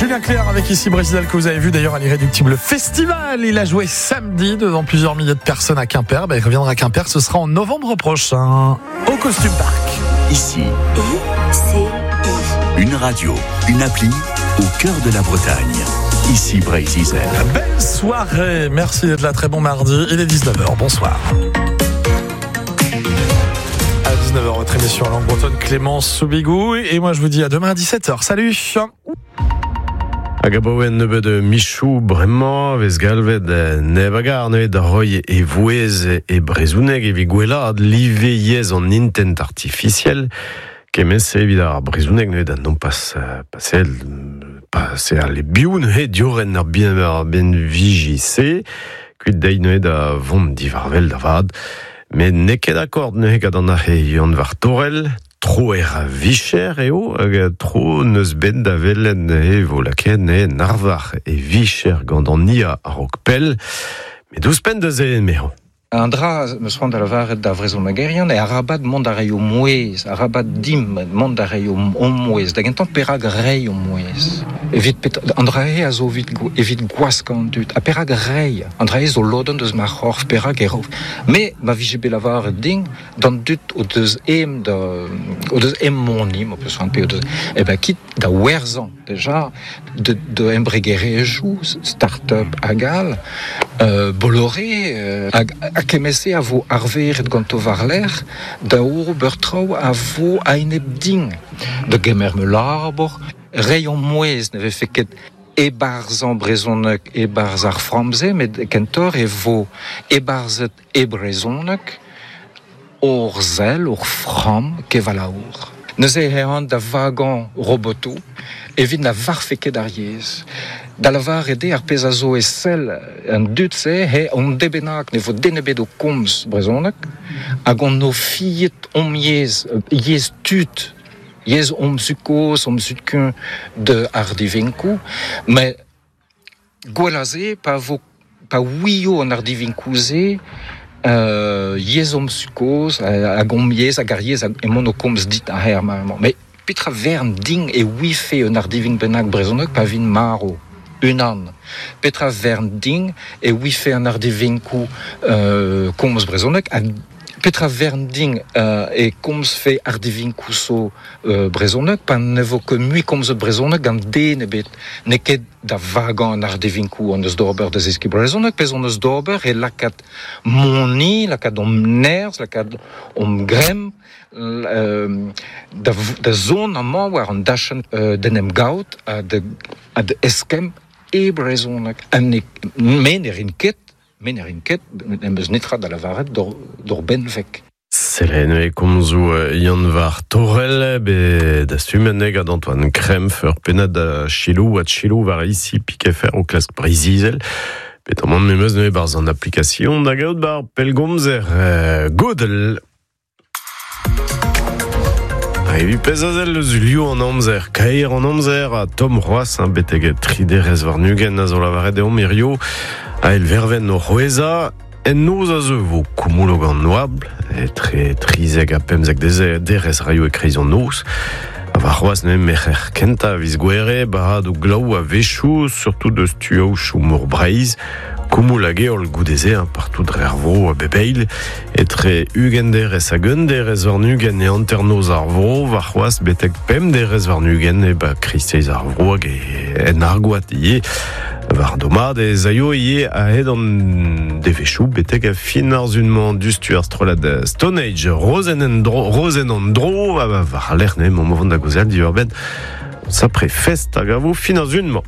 Julien Clerc avec ici Brésil que vous avez vu d'ailleurs à l'Irréductible Festival. Il a joué samedi devant plusieurs milliers de personnes à Quimper. Ben, il reviendra à Quimper, ce sera en novembre prochain au Costume Park. Ici, I, C, I. une radio, une appli au cœur de la Bretagne. Ici Breizh Belle soirée, merci d'être là, très bon mardi. Il est 19h, bonsoir. À 19h, votre émission en langue bretonne Clémence Soubigou. Et moi je vous dis à demain à 17h. Salut. Hag abaoe nebeut michoù bremañ vez galvet neb a gar neuze da roiñ e vouezh e brezhoneg evit gwellaat live yezh an intent artificiel. Kement-se evit ar brezhoneg neuze da nompas pasel paseal e-biou neuze diorren ar bien ar benviji-se kuit dezhi neuze da vont diwar-wel da vat. Met n'eo ket akord neuze gant an arc'he Yann Vartorel, troer a vicher eo, hag tro n'eus bet da welet neuze e vo lakaet neuze en arvar e vicher gant an IA a-raok pell. Met ouzhpenn da se emañ. Un dra 'm eus c'hoant da lavaret da vrezhonegerion eo arabat mont da reiñ o mouezh, arabat dimp mont da reiñ hon mouezh. Da gentañ, perak reiñ hon mouezh? Evit petra? An dra-se a zo evit, evit gwaskañ an dud. Ha perak reiñ? An dra-se zo lodenn deus ma c'horf, perak e ro? Me, ma vije bet lavaret din, d'an dud o deus em da, o deus em moni, m'ho peus c'hoant, pe o deus, eh ben kit da werzhañ deja de, de embregerezhioù, start-up hag all, Bolloré hag ha kement-se a vo arveret ganto war-lerc'h da ober traoù a vo a-enep din, da gemer ma labour, reiñ hon mouezh ne vefe ket e-barzh brezhoneg e-barzh ar framm-se, met kentoc'h e vo e-barzhet e brezhoneg hor sell, hor framm kevalaour. Neuze eh an da vagañ robotoù evit na varfe ket ar yezh. Da lavaret eo ar pezh a zo e sell an dud-se eo un deiz bennak ne vo den ebet o komz brezhoneg hag hon o fiet hom yezh, yezh tud, yezh hom zud-kozh, hom zud-kuñv de ardivinkoù. Met gwell a se pa vo pa ouio an ardivinkoù-se yezh hom zud-kozh hag hom yezh hag ar yezh emaon o komz dit aze ar mare-mañ. Met petra vern din e ouife un ardivink bennak brezhoneg pa vin marv? Unan. Petra vern din e ouife an ardivinkoù komz brezhoneg ha petra vern din e komzfe ardivinkoù zo brezhoneg pa ne vo ket mui komzet brezhoneg gant den ebet. N'eo ket da vagañ an ardivinkoù hon eus d'ober da zeskiñ brezhoneg, pezh hon eus d'ober eo lakaat moni, lakaat hom nerzh, lakaat hom gremm da, da zont amañ war an dachenn d'en em gaout ha da, ha da eskemm e brezhoneg. Ha ne, me ne rin ket, me ne rin ket, n'em eus netra da lavaret d'hor benveg. Selen e komzoù Yann Var Torel, bet dastumet gant Antoine Krempf, ur pennad da Chilou ha Chilou war ici Piquefer o klask Breizh-Izel. Bet amañ memes neuze barzh an application da gaout bar pellgomzer Godel. Evit pezh a sell eus liv an amzer, kaer an amzer ha tomm c'hoazh, hein, betek tri derez warn-ugent a zo lavaret deomp hirio, a vervenn o c'hwezhañ. En noz a zeu vo koumoulog an oabl, etre 13 ha 15 derez raio e-kreiz an noz. Ha warc'hoazh neuze merc'her kentañ a viz Gouere, barradoù glav a-wechoù, surtout deus tuaoù mor Breizh. Koumoul hag heol goude-se, hein, partout dre ar vro a bep eil. Etre 20 derez hag un derez warn-ugent e hanternoz ar vro, warc'hoazh betek pemp derez warn-ugent e ba kreisteiz ar vro hag en Argoad ivez. War domad ez aio ivez a-hed an devezhioù betek fin ar sun-mañ diouzhtu ar strollad Stone Age Rozenn en dro, Rozenn an dro war lec'h neuze emaomp o vont da gaozeal diwar-benn sapre fest hag a vo fin ar sun-mañ.